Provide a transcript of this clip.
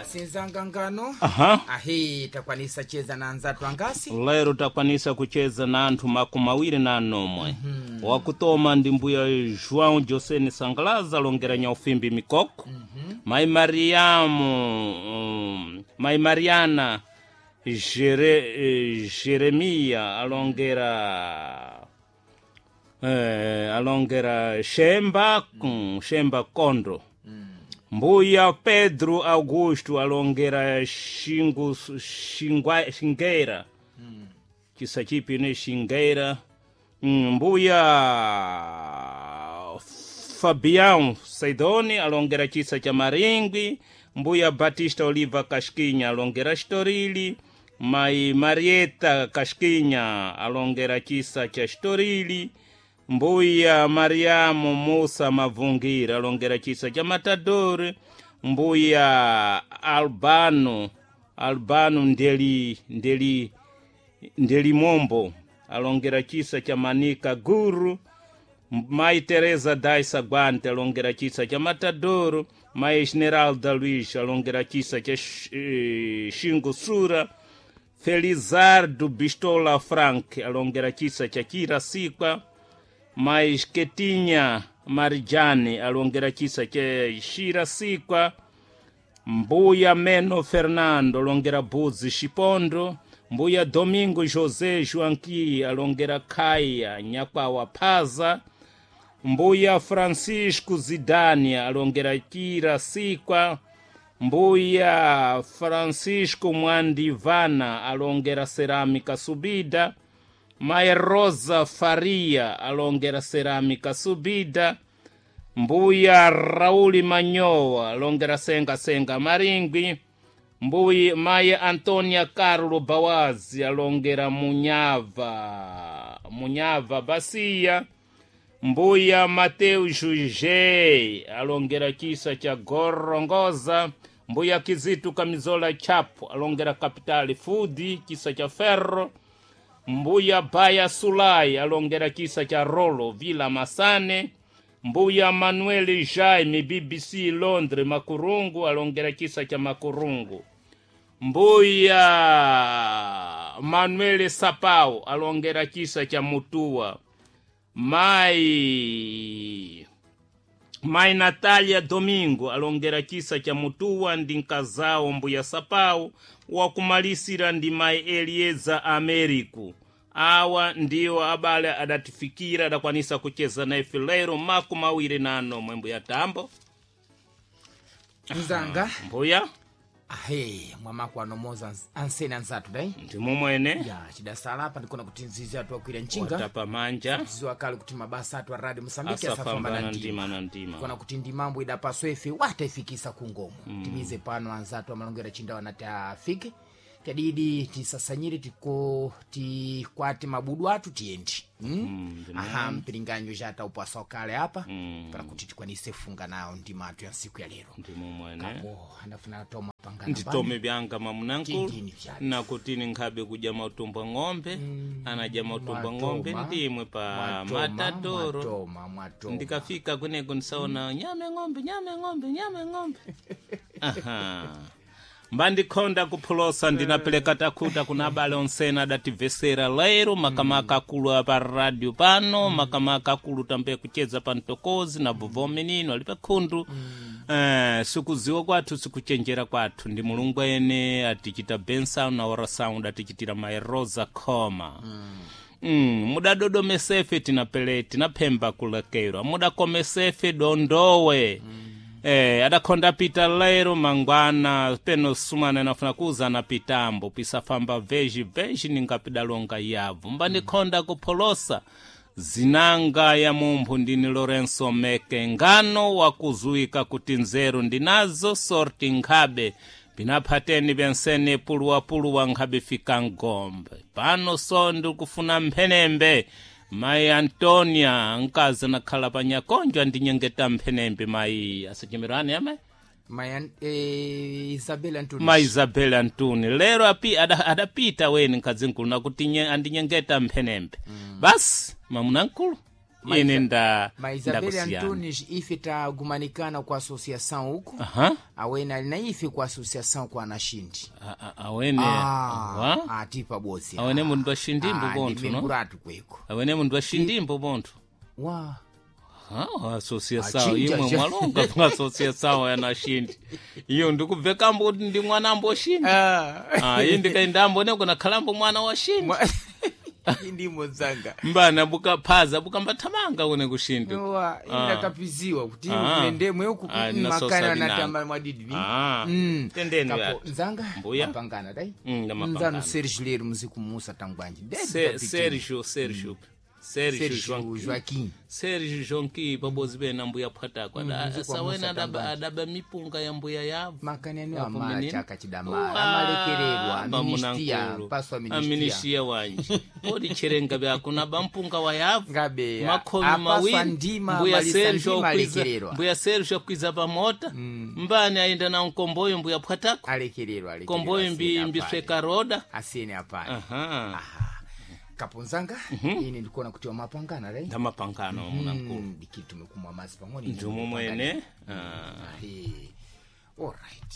Basi nzanga ngano. Aha. Ahi takwanisa cheza na anzatu angasi. Lero takwanisa kucheza na anthu 24. Wakutoma ndi mbuya João Josene Sangalaza alongera nyaufimbi mikoko. Mai Mariamu, mai Mariana Jeremia alongera alongera Shemba, Shemba Kondo. Mbuya Pedro Augusto alongera Xingu, Xingua, Xingueira. Chisa chipi ne Xingueira. Mbuya Fabião Saidoni alongera chisa cha Maringwi. Mbuya Batista Oliva Casquinha alongera Estorili. Mai Marieta Casquinha alongera chisa cha Estorili. Mbuya Mariamu Musa Mavungira alongera chisa cha Matador. Mbuya Albano Albano Ndeli Ndeli Ndelimombo alongera chisa cha Manika Guru. Mai Teresa Daisa Guante alongera chisa cha Matadoro. Mai Esmeralda Luiz alongera chisa cha Xingu Sura. Felizardo Bistola Frank alongera chisa cha Chirasikwa. Mai Ketinha Marijane alongera chisa cha Xirasikwa. Mbuya Meno Fernando alongera Buzi Xipondo. Mbuya Domingo José Joanqui alongera Kaya Nyakwawa Phaza. Mbuya Francisco Zidane alongera Chirasikwa. Mbuya Francisco Mwandivana alongera Cerâmica Subida. Mai Rosa Faria alongera Cerâmica Subida. Mbuya Rauli Manyowa alongera Senga Senga Maringwi. Mbuyi Mai Antonia Carlo Bawazi alongera Munyava Munyava Basia. Mbuya Mateu Juje alongera chisa cha Gorongoza. Mbuya Kizitu Kamizola Chapo alongera Kapitali Fudi chisa cha Ferro. Mbuya Baya Sulai alongera chisa cha Rolo Vila Masane. Mbuya Manuel Jaime BBC Londres Makurungu alongera chisa cha Makurungu. Mbuya Manuel Sapau alongera chisa cha Mutua. Mai Natalia Domingo alongera chisa cha Mutua ndi nkazao Mbuya Sapau. Wakumalisira ndi Mai Elieza Americo. Awa ndiwo abale adatifikira adakwanisa kucheza naye lero 24 Mbuya Tambo. Nzanga. Mbuya Ahe mwamako anomoza ansene anzatu dai. Ndimumwene. Ya chidasala apa ndikona kuti nzizi atu akwira nchinga. Watapa manja. Ziwa kale kuti mabasa atu a Radio Mosambiki asafambana asafambana ndima. ndima na ndima. Kona kuti ndi mambo idapaswa ife wataifikisa kungomo. Timize pano anzatu amalongera chindawa nati afike. Tadidi tisasanyire tiko tikwate mabudu atu tiyendi. Aha mpiringanyo jata upasa kale apa. Para kuti tikwanise funga nawo ndima atu ya siku ya lero. Ndimumwene. Kapo andafuna toma pangana. Nditome byanga mamunankulu Tindini vyake. nakutini nkhabe kudya mautumbo ng'ombe. Anadya mautumbo ng'ombe ndimwe pa Matadoro. Mwatoma, mwatoma. Ndikafika kuneko ndisaona nyame ng'ombe nyame ng'ombe nyame ng'ombe. Aha. Mbandikhonda kuphulosa ndinapeleka takhuta kuna abale onsena adativesera lero makamaka akulu apa radio pano. Makamaka akulu tambe kucheza pa mtokozi na vovo menino ali pakhundu. Sikuziwa kwathu sikuchenjera kwathu ndi Mulungu ene atichita bensound na ora sound atichitira Mai Rosa Khoma. Mudadodomesefe tinapele tinaphemba kulekerwa mudakomesefe dondowe. Adakhonda pita lero mangwana peno sumana nafuna kuza na pitambo pisafamba veji veji ningapidalonga yavu mbandikhonda kupholosa zinanga ya mumphu ndini Lorenso Meke ngano wakuzuika kuti nzeru ndinazo sorti nkhabe pinaphateni bensene puluwapuluwa nkhabe fika ngombe pano so ndikufuna mphenembe. Mai Antonia nkazi anakhala pa nyakonjo andinyengeta mphenembe mai asachemerani amai Mai Isabel Antoni. Mai Isabel Antoni lero api adapita weni nkadzi nkulu nakuti andinyengeta mphenembe. Basi mamuna nkulu. Ine nda Ma Isabel ndakusiyana. Antunes ife tagumanikana ku associação uku. Aha. Awene ali na ife ku associação ku anashindi. Awene wa Ah, tipa bosi. Awene mundu washindimbo bonthu no. Ndimemburatu kweko. Awene mundu washindimbo bonthu. Wa. Ah, associação Achinja, imwe cha. mwalonga pa associação yanashindi iyo ndikubvekambo kuti ndi mwana ambo shindi. Ah, iyi ndikaindambo ne kunakhalambo mwana wa shindi. Ndimo zanga. Mbana bukaphaza bukambathamanga kune kushindi. Wa, indakapiziwa kuti Ah. kune ndemwe uku Ah, naso makana sabinanga. natamba mwadidi. Ah, tendeni Kapo yati. nzanga Mbuya. mapangana dai. Ndamapangana. Nzano Sergio Lero muzikumusa tangwanji. Dede Sergio, Sergio, Sergio Sergio Joaquim. Joaquim. Sergio Jonki pabozi pena mbuya phwatako Muzikwamusa sawene tangwanji. adaba mipunga ya mbuya yavo. Makaneno Yapo amala menino. chaka chidamala amalekererwa aministia paso aministia Aministia wanje odi cherenga byakunaba mpunga wa yavu Ngabe makhomi apaswa mawiri ndima mbuya amalisa Sergio ndima akwiza alekererwa. mbuya Sergio akwiza pamota mbani ayenda na mkomboyo mbuya phwatako alekererwa alekererwa komboyo mbi asiyeni mbisweka roda. apale. Asiyeni apale. Aha. Kaponzanga ine ndikuona kuti wamapangana dai. Ndamapangano munankulu. Dikiri tumekumwa mazi pang'ono. Njumu mwene. Ah. Alright.